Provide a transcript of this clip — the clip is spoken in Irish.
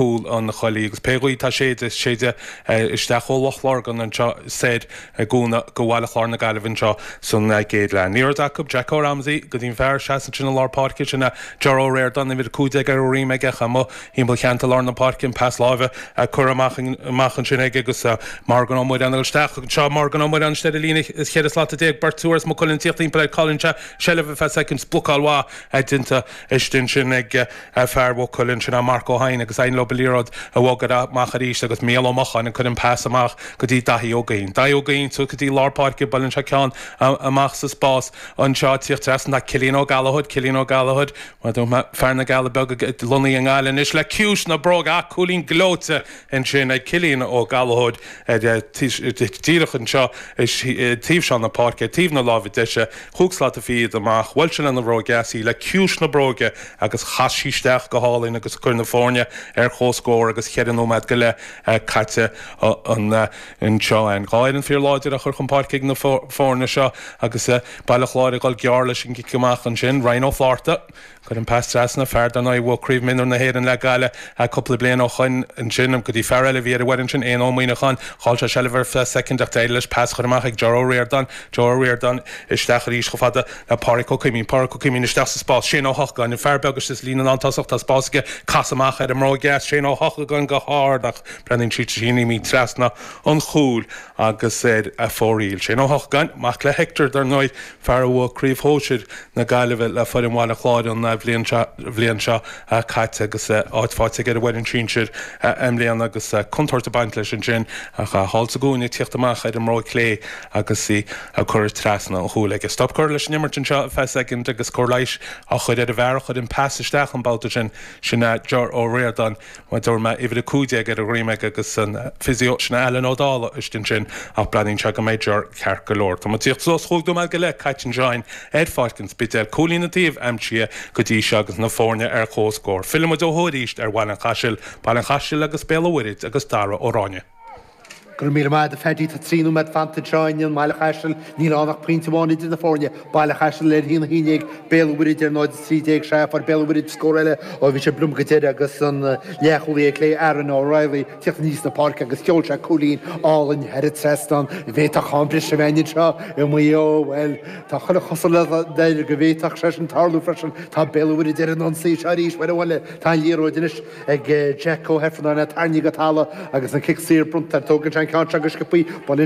Chúl an Choiligh agus pé gaoth atá séide, séide isteach ó Loch Lurgan anseo soir i gcúnamh go Bhaile Chláir na Gaillimhe anseo san gcéad leath. Ní raibh acu Jack Ó Ramsey go dtí an fear a sheas ansin i lár páirce, sin é Ger Ó Ríordáin, uimhir 15 ar a dhroim aige, amuigh thimpeall cheantar lár na páirce, an pas láimhe curtha amach amach ansin aige agus Morgan Ó Muireáin ag dul isteach anseo, Morgan Ó Muireáin istigh ar an líne 14 slat, beirt as Maigh Cuilinn ag tíocht timpeall air, cailleann sé seilbh ar feadh soicind, blocáil mhaith déanta istigh ansin ag Fear Mhaigh Cuilinn, sin é Marc Ó hEidhin agus éiríonn leo an liathróid a bhogadh amach arís agus Mícheál Ó Mocháin ag cur an pas amach go dtí Daithí Ó Guinn. Daithí Ó Guinn suas go dtí lár páirce, buaileann sé ceann amach sa spás anseo, tíocht trasna tá Cillian Ó Gallchóir, Cillian Ó Gallchóir, fear na gCealla Beaga lonnaithe i nGaillimh anois le ciumhais na bróige ach cúilín gleoite ansin ag Cillian Ó Gallchóir díreach anseo taobh seo na páirce, taobh na láimhe deise. Chúig slata fichead amach, bhuail sé lena bhróg dheas í le ciumhais na bróige agus chas sí isteach go hálainn agus chuir na foirne ar comhscór agus cheithre nóiméad go leith caite anseo. An dhá fhoireann fíor láidir á chur chun páirce ag na foirne seo agus Baile Chláir ag dul gearr leis an gcic amach ansin. Ryan Ó Flátharta. Chuir an pas trasna, fear dar ndóigh a bhuaigh Craobh Mionúir na hÉireann le Gaillimh cúpla bliain ó shoin ansin go dtí fear eile a bhí ar an bhfoireann sin, Éanna Ó Muíneacháin. Chaill sé seilbh ar feadh soicind ach d'éirigh leis pas a chur amach ag Ger Ó Ríordáin. Ger Ó Ríordáin isteach arís chomh fada le Pádraic Ó Cuimín. Pádraic Ó Cuimín isteach sa spás. Shane Ó hEochagáin, an fear beag istigh sa líne lántosach, tá spás aige, casadh amach ar an mbróig dheas. Shane Ó hEochagáin go hard ach breathnaíonn sí sin imithe trasna an chúil agus ar a fóraoil. Shane Ó hEochagáin, mac le Hector dar ndóigh, fear a bhuaigh Craobh Shóisir na Gaillimhe le foireann Bhaile Chláir an bhliain seo bhliain seo caite agus áit faighte aige ar an bhfoireann sinsir i mbliana agus contúirt ag baint leis ansin ach thall sa gcúinne ag tíocht amach ar an mbróig chlé agus í ag cur trasna an chúil aige. Stop curtha leis an imirt anseo ar feadh soicind agus cóir leighis á chur ar an bhfear a chuir an pas isteach an babhta sin, sin é Ger Ó Ríordáin. Mar a dúirt mé, uimhir 15 ar a dhroim aige agus an physio, sin é Alan Ó Dálaigh istigh ansin ach breathnaíonn sé go mbeidh Ger ceart go leor. Tá muid ag tíocht suas chúig nóiméad go leith caite anseo ar Pháirc an Spidéil. Cúilín an taobh aimsithe go dtí seo agus na foirne ar comhscór. Fillfidh muid ó thuaidh arís ar Bhaile an Chaisil, Baile an Chaisil agus Béal an Mhuirthid agus Dara Ó Ráinne. Go raibh míle maith agat a Phaddy. Tá 3 nóiméad fanta anseo i mBaile Chaisil. Níl ann ach pointe amháin idir na foirne. Baile Chaisil ar 1-11, Béal an Mhuirthid ar 0-13. Sea, fuair Béal an Mhuirthid scór eile ó bhí sé bliom go deireadh agus an leathchúlaí ar clé Aaron O'Reilly ag tíocht aníos na páirce agus sheol sé cúilín álainn thar an trasnán. An bhféadfadh am breise a bheith anseo i Maigh Eo? Bhuel, tá chuile chosúlacht air go bhféadfadh sé sin tarlú freisin. Tá Béal an Mhuirthid ar an ionsaí seo arís. Bhuel, abhaile, tá an liathróid anois. ag Jack Ó hIfearnáin, tarraingthe go talamh agus an cic saor bronnta air. Tógann sé an ceann seo go sciobthaí.